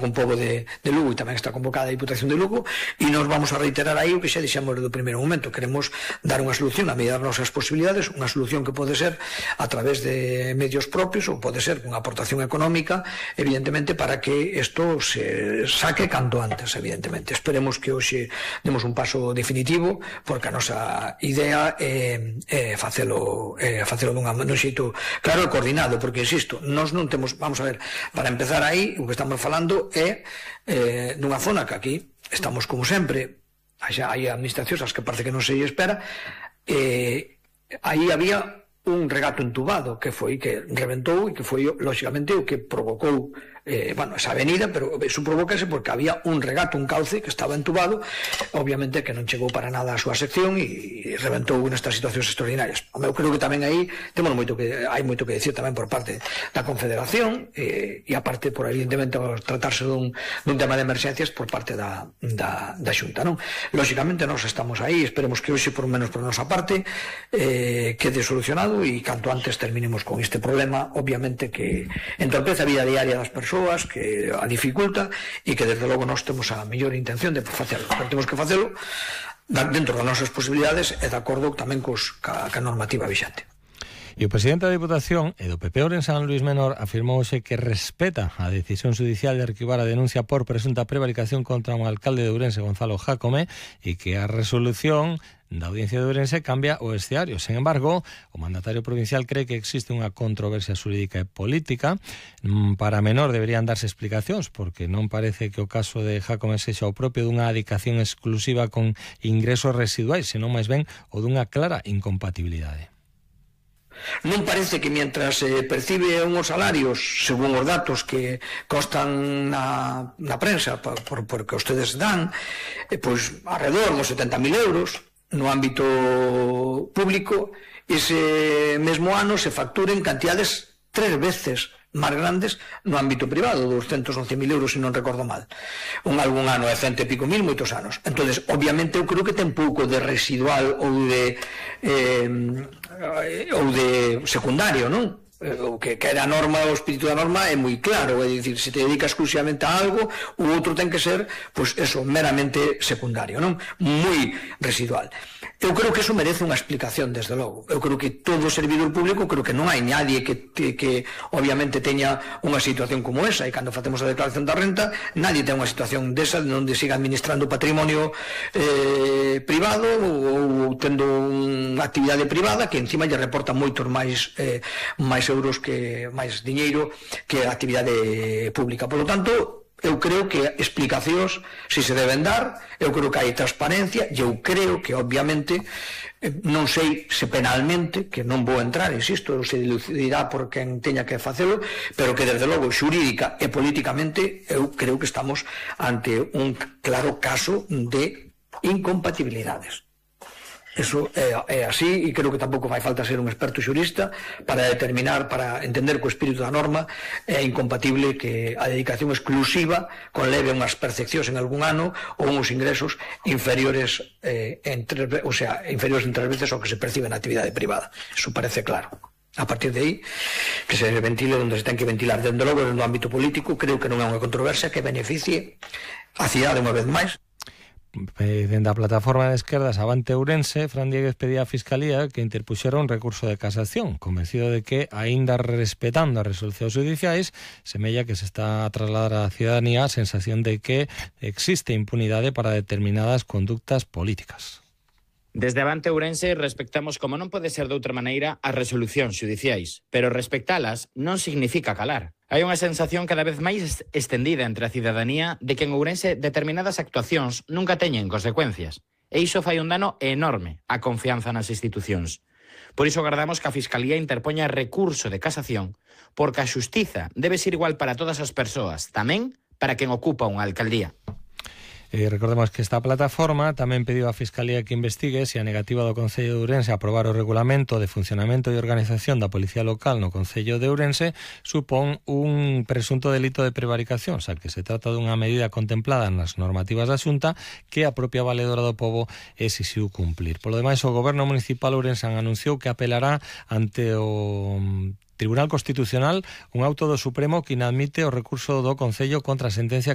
con pobo de Lugo, e tamén está convocada a Diputación de Lugo, e nos vamos a reiterar aí o que xa dixemos do primeiro momento. Queremos dar unha solución a medida das nosas posibilidades, unha solución que pode ser a través de medios propios ou pode ser con aportación económica, evidentemente, para que isto se saque canto antes, evidentemente. Esperemos que hoxe demos un paso definitivo, porque a nosa idea é facelo dun xeito claro e coordinado, porque, insisto, nós non temos, vamos a ver, para empezar aí, o que estamos falando é nunha zona que aquí estamos como sempre, hai administracións as que parece que non se espera, aí había un regato entubado que foi que reventou e que foi lógicamente o que provocou esa avenida, pero eso provocase porque había un regato, un cauce que estaba entubado, obviamente que non chegou para nada a súa sección e reventou nestas situacións extraordinarias. Eu creo que tamén aí hai moito que decir tamén por parte da Confederación e aparte por evidentemente tratarse dun tema de emerxencias por parte da Xunta, non? Lógicamente nós estamos aí, esperemos que hoxe por menos por nosa parte quede solucionado e canto antes terminemos con este problema, obviamente que entorpece a vida diaria das persoas, que a dificulta e que desde logo nós temos a mellor intención de facelo, pero temos que facelo dentro das nosas posibilidades e de acordo tamén ca normativa vixante. E o presidente da Diputación e do PP Ourensán, Luís Menor, afirmou hoxe que respeta a decisión judicial de arquivar a denuncia por presunta prevaricación contra un alcalde de Ourense, Gonzalo Jácome, e que a resolución da Audiencia de Ourense cambia o escenario. Sen embargo, o mandatario provincial cree que existe unha controversia xurídica e política. Para Menor deberían darse explicacións, porque non parece que o caso de Jácome sexa o propio dunha adicación exclusiva con ingresos residuais, senón máis ben o dunha clara incompatibilidade. Non parece que mientras percibe unhos salarios, según os datos que constan na prensa, porque ustedes dan, pois alrededor dos 70.000 euros no ámbito público, ese mesmo ano se facturen cantidades 3 veces máis grandes no ámbito privado, 211.000 euros, se non recordo mal. Algún ano é 100 e pico mil, moitos anos. Entonces, obviamente, eu creo que ten pouco de residual ou de secundario, non? O que era a norma, o espírito da norma é moi claro, é dicir, se te dedicas exclusivamente a algo, o outro ten que ser, pois eso, meramente secundario, non? Moi residual. Eu creo que eso merece unha explicación, desde logo. Eu creo que todo servidor público, creo que non hai nadie que obviamente teña unha situación como esa, e cando facemos a declaración da renta, nadie ten unha situación desa onde siga administrando patrimonio privado ou tendo unha actividade privada que encima lle reporta moitos máis euros, máis diñeiro que a actividade pública. Por lo tanto, eu creo que explicacións si se deben dar, eu creo que hai transparencia e eu creo que obviamente non sei se penalmente, que non vou entrar, insisto, se dilucidirá por quen teña que facelo, pero que desde logo xurídica e políticamente eu creo que estamos ante un claro caso de incompatibilidades. Eso é así, e creo que tampouco fai falta ser un experto xurista para determinar, para entender que o espírito da norma é incompatible que a dedicación exclusiva conleve unhas percepcións en algún ano ou uns ingresos inferiores en 3 veces ao que se percibe na actividade privada. Eso parece claro. A partir de aí, que se ventile onde se ten que ventilar. Dende logo, no ámbito político, creo que non é unha controversia que beneficie a cidade unha vez máis. Dende a plataforma de esquerdas Avante Ourense, Fran Dieguez pedía á Fiscalía que interpuxera un recurso de casación, convencido de que, aínda respetando as resolucións judiciais, semella que se está a trasladar á cidadanía a sensación de que existe impunidade para determinadas conductas políticas. Desde Avante Ourense respectamos, como non pode ser de outra maneira, as resolucións xudiciais, pero respectalas non significa calar. Hai unha sensación cada vez máis estendida entre a cidadanía de que en Ourense determinadas actuacións nunca teñen consecuencias, e iso fai un dano enorme á confianza nas institucións. Por iso agardamos que a Fiscalía interpoña recurso de casación, porque a xustiza debe ser igual para todas as persoas, tamén para quen ocupa unha alcaldía. Recordemos que esta plataforma tamén pediu á Fiscalía que investigue se a negativa do Concello de Ourense a aprobar o regulamento de funcionamento e organización da Policía Local no Concello de Ourense supón un presunto delito de prevaricación, xa que se trata dunha medida contemplada nas normativas da Xunta que a propia Valedora do Pobo exixiu cumplir. Polo demais, o Goberno Municipal Ourensán anunciou que apelará ante o Tribunal Constitucional un auto do Supremo que inadmite o recurso do Concello contra a sentencia